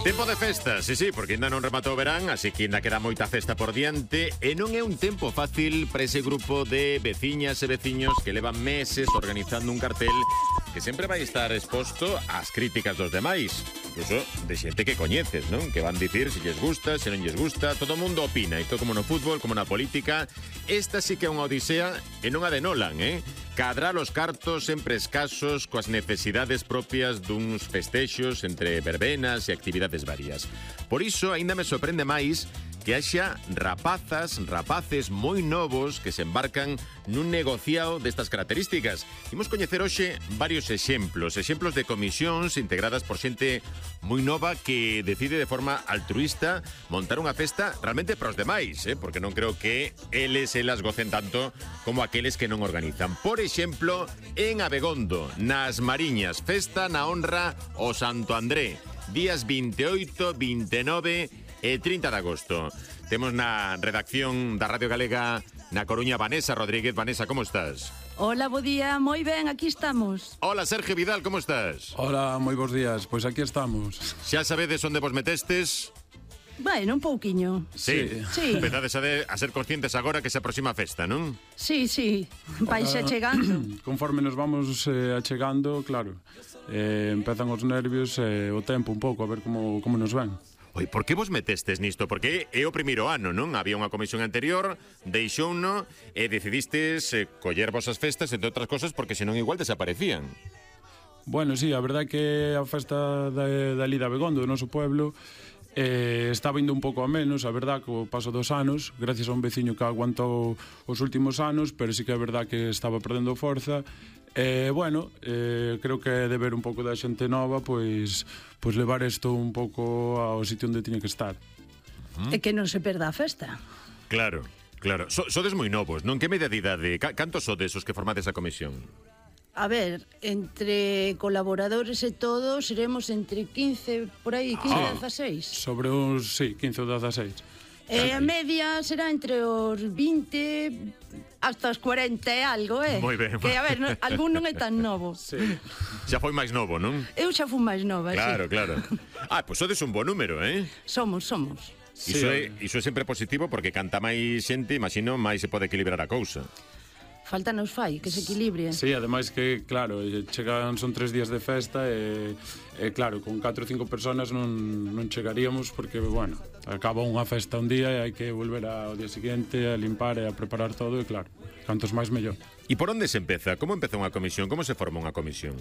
Tempo de festa, sí, porque ainda non rematou o verán, así que ainda queda moita festa por diante e non é un tempo fácil para ese grupo de veciñas e veciños que levan meses organizando un cartel que sempre vai estar exposto ás críticas dos demais, incluso de xente que coñeces, non? Que van dicir se lles gusta, se non lles gusta, todo o mundo opina, isto como no fútbol, como na política. Esta sí que é unha odisea e non a de Nolan, Cadrar os cartos sempre escasos coas necesidades propias duns festexos entre verbenas e actividades varias. Por iso, aínda me sorprende máis que haxa rapaces moi novos que se embarcan nun negociado destas características. Imos coñecer hoxe varios exemplos de comisións integradas por xente moi nova que decide de forma altruista montar unha festa realmente para os demais, porque non creo que elas gocen tanto como aqueles que non organizan. Por exemplo, en Abegondo, nas Mariñas, festa na honra ao Santo André, días 28, 29 e 30 de agosto. Temos na redacción da Radio Galega na Coruña Vanessa Rodríguez. Vanessa, como estás? Hola, bo día, moi ben, aquí estamos. Hola, Sergio Vidal, como estás? Hola, moi bons días, pois aquí estamos. Xa sabedes onde vos metestes? Bueno, un pouquiño. Sí. Empezades a ser conscientes agora que se aproxima a festa, non? Sí, vais chegando. Conforme nos vamos achegando, claro, empezan os nervios e o tempo un pouco, a ver como nos ven. Oi, por que vos metestes nisto? Porque é o primeiro ano, non? Había unha comisión anterior, deixouno e decidistes coller vosas festas, entre outras cosas, porque senón igual desaparecían. Bueno, sí, a verdade é que a festa da Lida Abegondo, do noso pueblo, estaba indo un pouco a menos, a verdade, co paso dos anos, gracias a un veciño que aguantou os últimos anos, pero sí que é verdade que estaba perdendo forza. Bueno, creo que de ver un pouco da xente nova, pois levar isto un pouco ao sitio onde tiña que estar. E que non se perda a festa. Claro. Sodes moi novos, non? Que media de idade? Cantos sodes os que formades a comisión? A ver, entre colaboradores e todo, seremos entre 15, por aí, 15 e 16. Sobre uns, sí, 15 ou 16. E a media será entre os 20 hasta os 40 e algo, Moi ben. Que, a ver, algún non é tan novo. Sí. Xa foi máis novo, non? Eu xa fui máis nova, Claro. Pois sodes un bo número, Somos. Iso é sempre positivo porque canta máis xente, imagino, máis se pode equilibrar a cousa. Falta nos fai, que se equilibre. Sí, ademais que, claro, son 3 días de festa e claro, con 4 ou 5 personas non chegaríamos porque, bueno, acaba unha festa un día e hai que volver ao día seguinte a limpar e a preparar todo e, claro, cantos máis mellor. E por onde se empeza? Como empeza unha comisión? Como se forma unha comisión?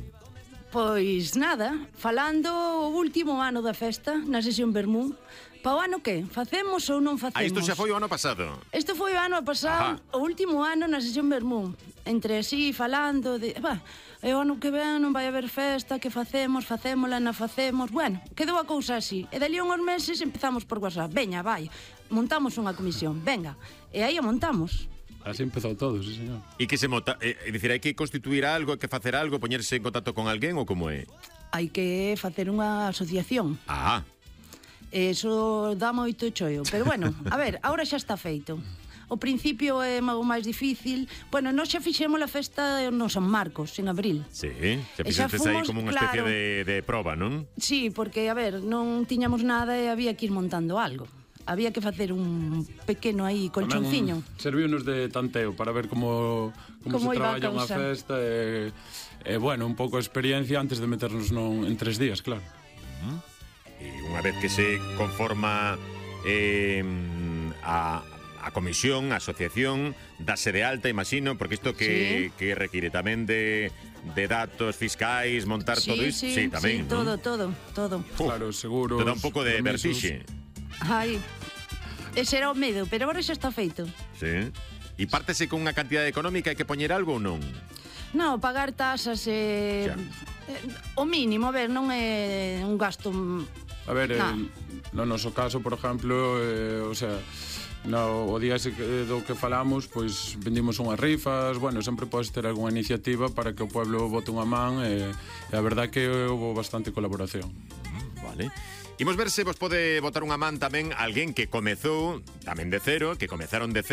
Pois nada, falando o último ano da festa, na sesión Vermú. Pa o ano que? Facemos ou non facemos? Isto xa foi o ano pasado. Isto foi o ano pasado, o último ano na sesión Vermú. Entre así, falando de... e o ano que ven non vai haber festa, que facémola, non facemos... Bueno, quedou a cousa así. E dali uns meses empezamos por WhatsApp. Veña, vai, montamos unha comisión, venga. E aí a montamos. Así empezou todo, sí, señor. E que se monta... É dicir, hai que constituir algo, hai que facer algo, poñerse en contacto con alguén ou como é? Hai que facer unha asociación. Eso dá moito choio. Pero bueno, a ver, agora xa está feito. O principio é o máis difícil. Bueno, nós xa fixemos a festa no San Marcos, en abril. Sí, xa fixestes aí como unha especie de proba, non? Sí, porque, a ver, non tiñamos nada e había que ir montando algo. Había que facer un pequeno aí colchonciño. Serviunos de tanteo para ver como se traballa unha festa e, bueno, un pouco de experiencia antes de meternos en 3 días, claro. E unha vez que se conforma a comisión, a asociación, dase de alta, imagino, porque isto que require tamén de datos fiscais, montar todo isto. Sí, tamén, todo. Claro, seguro. Te dá un pouco de vertixe. Ai, ese era o medo, pero agora xa está feito. Sí. E pártese con unha cantidade económica, hai que poñer algo ou non? Non, pagar tasas o mínimo, a ver, non é un gasto. A ver, no noso caso, por exemplo, o sea, o día do que falamos, pois vendimos unhas rifas, bueno, sempre podes ter algunha iniciativa para que o pueblo bote unha man e a verdade é que houve bastante colaboración. Vale. Imos ver se vos pode botar unha man tamén alguén que comezou tamén de cero, que comezaron de cero.